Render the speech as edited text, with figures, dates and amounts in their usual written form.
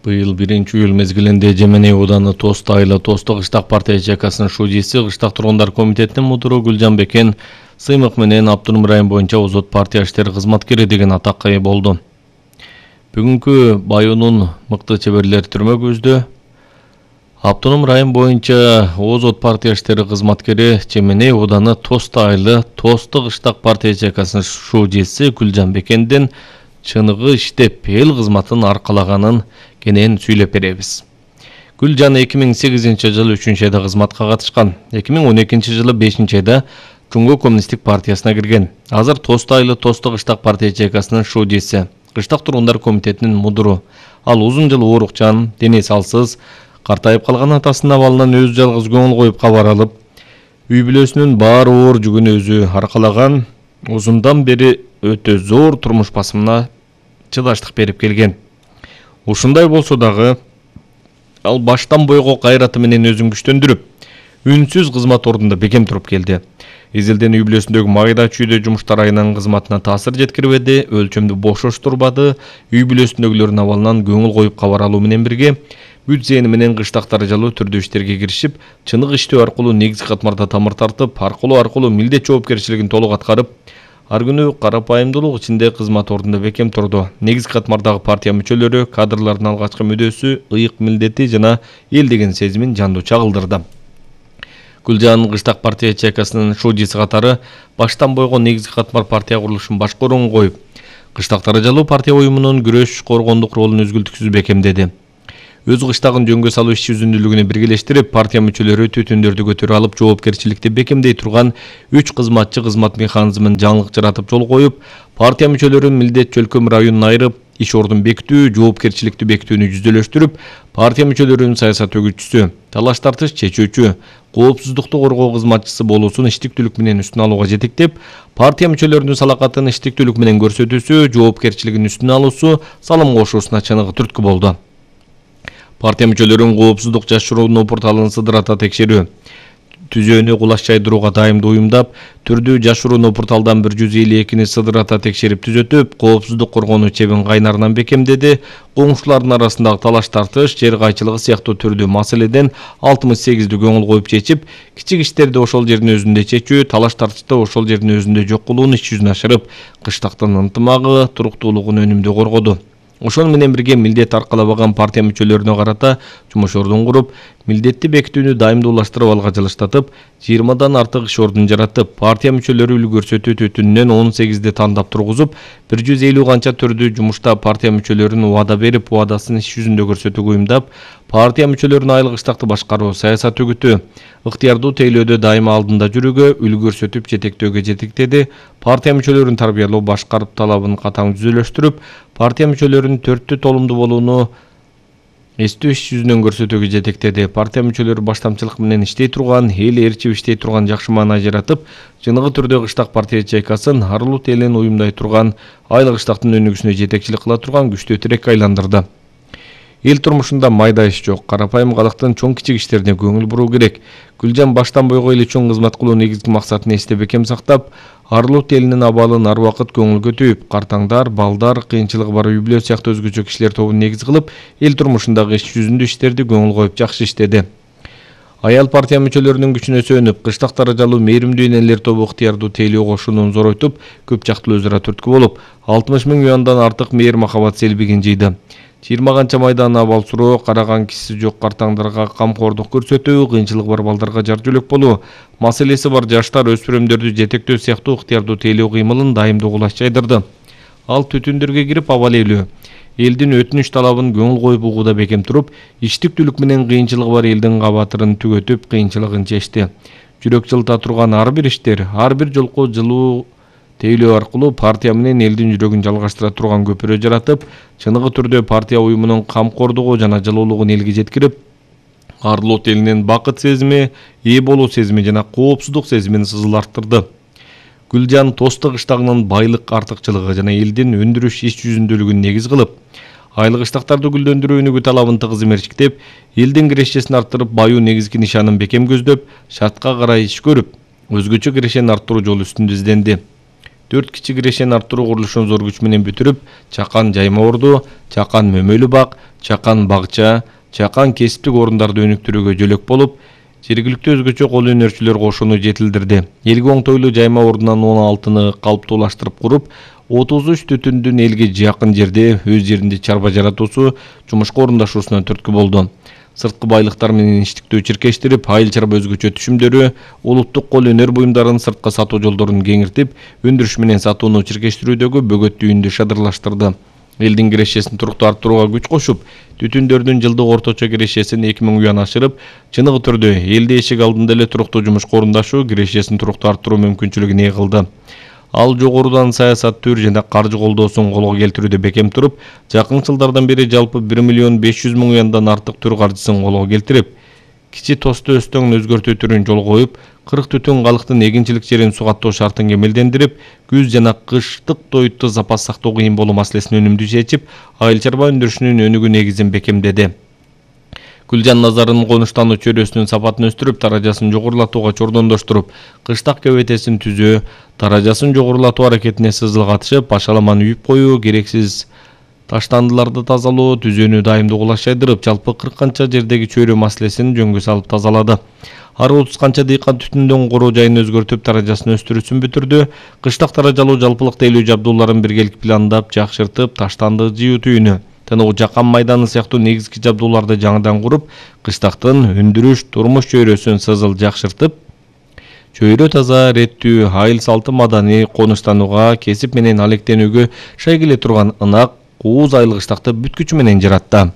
Быйыл 1-июль мезгилинде Жеменей ауданы Тост айылы Тосток Кыштак партия ЖКсынын шужиси Кыштак тургундар комитетинин мудуру Гүлжан Бекен сыймык менен Автономдук район боюнча Озот партия иштери кызматкери деген атакка ээ болду. Бүгүнкү баюунун мыкты чеберлери түрмөгүбүздө Автономдук район боюнча Озот партия иштери кызматкери Жеменей ауданы Тост айылы Тосток Кыштак партия ЖКсынын шужиси Гүлжан Бекендин чыныгы иштеп эл кызматын аркалаганын кенен сүйлөп беребиз. Гүлжан 2008-жылы 3-айда кызматка катышкан. 2012-жылы 5-айда Жумгө коммунисттик партиясына кирген. Азыр Тост айылы Тосток Кыштак партия ЖКсынын шужиси, Кыштак тургундар комитетинин мудуру. Ал узун жыл оорукчан, дене салсыз, картайып калган атасынын абалынан өзү жалгыз көңүл коюп кабар алып, үй бүлөсүнүн баары оор жүгүн өзү аркалаган, узундан бери өтө зор турмуш басымына чыдаштык берип келген. Ушундай болсо дагы ал баштан бойго кайраты менен өзүн күчтөндүрүп, үнсүз кызмат ордунда бекем туруп келди. Изилден үй бүлөсүндөгү майда чүйдө жумуштар айынан кызматына таасир жеткирбеди, өлчөмдү бошоштурбады, үй бүлөсүндөгүлөрдүн абалынан көңүл коюп кабар алуу менен бирге бүт зээни менен кыштак даражалуу түрдүү иштерге киришип, чыныгы иштөө аркылуу негизги катмарда тамыр тартып, аркылуу милдет жоопкерчилигин толук аткарып, ар күнү карапайымдуулук ичинде кызмат ордунда бекем турду. Негизги катмардагы партия мүчөлөрү, кадрлардын алгачкы мүдөөсү, ыйык милдети жана эл деген сезимин жандуу чагылдырды. Гүлжан Кыштак партия ЖКсынын шужиси катары баштан бойго негизги катмар партия курулушун башкарууну коюп, Кыштак даражалуу партия уюмунун күрөш коргондук ролун үзгүлтүксүз бекемдеди. Өз кыштагын жөнгө салуу иш жүзүндүүлүгүнө биргелештирип, партия мүчөлөрү түтүндөрдү көтөрүп алып, жоопкерчиликти бекемдей турган 3 кызматчы кызмат механизмин жаңылык жаратып жол коюп, партия мүчөлөрүн милдет чөлкөм районуна айырып, иш ордун бекитүү, жоопкерчиликти бекитүүнү жүзөлөштүрүп, партия мүчөлөрүнүн саясат өгүтчүсү, талаш тартыш чечүүчү, коопсуздукту коргоо кызматчысы болуусун иштиктүүлүк менен үстүнө алууга жетектеп, партия мүчөлөрүнүн салакатын иштиктүүлүк менен көрсөтүүсү, жоопкерчилигин үстүнө алуусу салым кошуусуна чыныгы түрткү болду. Партия мүчөлөрүнүн коопсуздук жашыруунун порталын сыдырата текшерүү, түзөөнү кулаш жайдырууга дайымдуу уюмдап, түрдүү жашыруунун порталдан 152-ни сыдырата текшерип түзөтүп, коопсуздук коргонуу чебин кайнарынан бекемдеди. Коңшулардын арасындагы талаш тартыш, жер кайчылыгы сыяктуу түрдүү маселеден 68-ди көңүл коюп чечип, кичик иштерди ошол жердин өзүндө чечүү, талаш тартышты ошол жердин өзүндө жок кылууну иш жүзүнө ашырып, кыштактын ынтымагы, туруктуулугун өнүмдүү коргоду. Ошол менен бирге милдет аркалабаган партия мүчөлөрүнө карата жумуш ордун куруп, милдетти бекитүүнү дайымдуулаштырып алга жылыштатып, 20дан артык иш ордун жаратып, партия мүчөлөрү үлгүрсөтүү түтүнүнөн 18ди тандап тургузуп, 150 канча түрдүү жумушта партия мүчөлөрүн убада берип, убадасын иш жүзүндө көрсөтүүгө уюмдап, партия мүчөлөрүнүн айыл кыштакты башкаруу, саясат өгүтүү, ыктыярдуу тейлөөдө дайыма алдында жүрүүгө, үлгү көрсөтүп жетектөөгө жетектеди. Партия мүчөлөрүн тарбиялоо, башкарып талабын катаң жүзөлөштүрүп, партия мүчөлөрүнүн төрттү толумдуу болууну эстөө иш жүзүнөн көрсөтүүгө жетектеди. Партия мүчөлөрү баштамчылык менен иштей турган, эл ээрчип иштей турган жакшы маанай жаратып, чыныгы түрдө Кыштак партия ЖКсын арылуу элин уюмдай турган, айыл кыштактын өнүгүшүнө жетекчилик кыла турган күчтүү тирекке айландырды. Эл турмушунда майда иш жок, карапайым калктын чоң кичик иштерине көңүл буруу керек. Гүлжан баштан бойго эл үчүн кызмат кылуу негизги максатын эсте бекем сактап, арылуу элинин абалын ар убакыт көңүлгө түйүп, картаңдар, балдар, кыйынчылыгы бар үй бүлө сыяктуу өзгөчө кишилер тобун негиз кылып, эл турмушундагы иш жүзүндө иштерди көңүл коюп жакшы иштеди. Аял партия мүчөлөрүнүн күчүнө сүйөнүп, Кыштак даражалуу мээримдүү энелер тобу ыктыярдуу тейлөө кошуунун зоройтуп, көп жактуу өзара түрткү болуп, 60 000 юандан артык мээр махабат селбигин жыйды. 20 канча майдан абал суроо, караган кишиси жок картаңдарга камкордук көрсөтүү, кыйынчылыгы бар балдарга жар жөлөк болуу, маселеси бар жаштар, өспүрүмдөрдү жетектөө сыяктуу ыктыярдуу тейлөө кыймылын дайымдуу кулаш жайдырды. Ал түтүндөргө кирип абал ээлөө, элдин өтүнүч талабын көңүл коюп угууда бекем туруп, иштиктүүлүк менен кыйынчылыгы бар элдин кабатырын түгөтүп, кыйынчылыгын чечти. Жүрөк жылыта турган ар бир иштер, ар бир жолку жылуу тейлөө аркылуу партия менен элдин жүрөгүн жалгаштыра турган көпүрө жаратып, чыныгы түрдө партия уюмунун камкордугу жана жылуулугун элге жеткирип, арылуу элинин бакыт сезими, ээ болуу сезими жана коопсуздук сезимин сызыл арттырды. Гүлжан Тосток кыштагынын байлык артыкчылыгы жана элдин өндүрүш иш жүзүндүүлүгүн негиз кылып, айыл кыштактарды гүлдөндүрүү өнүгүү талабын тыгыз мерчиктеп, элдин кирешесин арттырып, баюу негизги нишанын бекем көздөп, шартка карай иш көрүп, өзгөчө кирешени арттыруу жолу үстүндө изденди. 4 кичи кирешени арттыруу курулушун зор күч менен бүтүрүп, Чакан жайма орду, Чакан мөмөлүү бак, Чакан багча, Чакан кесиптик орундарды өнүктүрүүгө жөлөк болуп, жергиликтүү өзгөчө кол өнөрчүлөр кошууну жетилдирди. Элге оңтойлуу жайма ордунан 16-ны калыптуулаштырып куруп, 33 түтүндүн элге жакын жерде өз жеринде чарба жаратуусу жумушка орундашуусуна түрткү болду. Сырткы байлыктар менен иштиктөө чиркештирип, айыл чарба өзгөчө түшүмдөрү, улуттук кол өнөр буюмдарын сыртка сатуу жолдорун кеңиртип, өндүрүш менен сатууну чиркештирүүдөгү бөгөттүүнү шадырлаштырды. Элдин кирешесин туруктуу арттырууга күч кошуп, түтүндөрдүн жылдык орточо кирешесин 2000 уян ашырып, чыныгы түрдө элде эшик алдында эле туруктуу жумушка орундашуу кирешесин туруктуу арттыруу мүмкүнчүлүгүн ээ кылды. Ал жогорудан саясаттуу жана каржы колдоосун колго келтирүүдө бекем туруп, жакын жылдардан бери жалпы 1 миллион 500 миң уяндан артык түр каржысын колго келтирип, кичи тосто өстөң өзгөртүү түрүн жол коюп, 40 түтүн калыктын эгинчилик жерин сугаттоо шартын кемелдендирип, күз жана кыштык тойтто запас сактоо кыйын болуу маселесин өнүмдүү чечип, айыл чарба өндүрүшүнүн өнүгүү негизин бекемдеди. Гүлжан Назарынын конуштануу чөйрөсүнүн сапатын өстүрүп, даражасын жогорулатууга чордондоштуруп, кыштак кебетесин түзөө, даражасын жогорулатуу аракетине сызыл катышып, башаламаны үйүп коюу, керексиз таштандыларды тазалоо, түзөөнү дайымдуу кулаш жайдырып, жалпы 40 канча жердеги чөйрө маселесин жөнгө салып тазалады. Ар 30 канча дыйкан түтүндөн короо жайын өзгөртүп, даражасын өстүрүүсүн бүтүрдү. Кыштак даражалуу жалпылык тейлөө жабдууларын биргелик пландап, жакшыртып, таштанды жыюу түйүнү, тынуу жакан майданы сыяктуу негизги жабдууларды жаңыдан куруп, кыштактын өндүрүш, турмуш чөйрөсүн сызыл жакшыртып, чөйрө таза, реттүү, айыл салты маданий конуштанууга, кесип менен алектенүүгө шай келе турган ынак, кууз айыл кыштакты бүткүчү менен жаратты.